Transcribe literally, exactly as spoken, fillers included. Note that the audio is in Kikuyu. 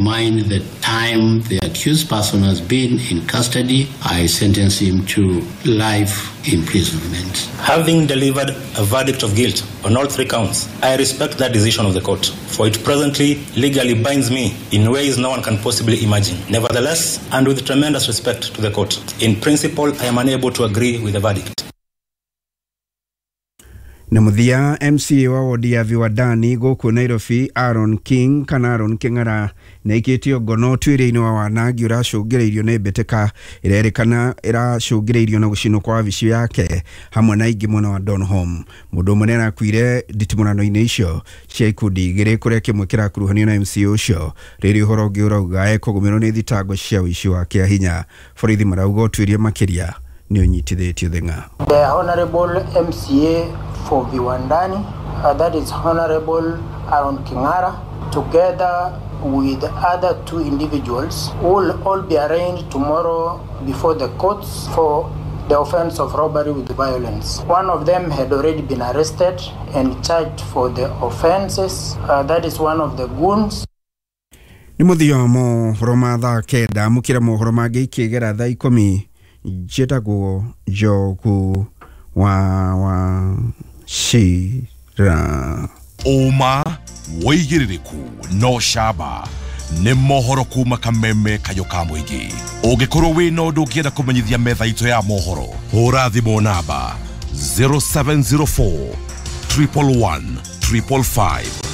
Mind the time the accused person has been in custody, I sentence him to life imprisonment. Having delivered a verdict of guilt on all three counts, I respect that decision of the court, for it presently legally binds me in ways no one can possibly imagine. Nevertheless, and with tremendous respect to the court, in principle, I am unable to agree with the verdict. Na muthia M C A wa wodi ya Viwandani gũkũ Nairobi Aaron King kana Aaron King'ara nĩaikĩtio ngono ũtuĩria-inĩ wa wanangi ũracũngĩrĩirio nĩ mbĩtĩka ĩrerĩkana ĩracũngĩrĩirio na gũcinwo kwa wabici yake hamwe na ingĩ mwena wa Donholm. Mũndũ ũmwe nĩarakuire nditimũrano-inĩ icio cia ikundi igĩrĩ kũrĩa kĩmwe kĩrakuruhanio na M C A ũcio. Rĩrĩ ũhoro ũngĩ ũrauga ekũgũmĩrwo nĩ thitango cia ũici wa kĩahinya. Borithi marauga ũtuĩria makĩria nĩ ũnyitithĩtio thĩng'a. The Honorable M C A for Viwandani, uh, that is Honorable Aaron King'ara, together with other two individuals, will all be arraigned tomorrow before the courts for the offense of robbery with violence. One of them had already been arrested and charged for the offenses. Uh, that is one of the goons. Nĩ mũthia wa mohoro ma thaa kenda, amũkĩra mohoro mangĩ ikĩgera thaa ikũmi. Njĩtagwo Njogu wa wa Shira. Ũma wĩigĩrĩrĩku no camba nĩ mohoro kuma Kameme Kayũ ka mũingĩ. Ũngĩkorwo wĩna ũndũ ũngĩenda kũmenyithia metha itũ ya mohoro, hũra thimũ namba zero seven zero four triple one triple five.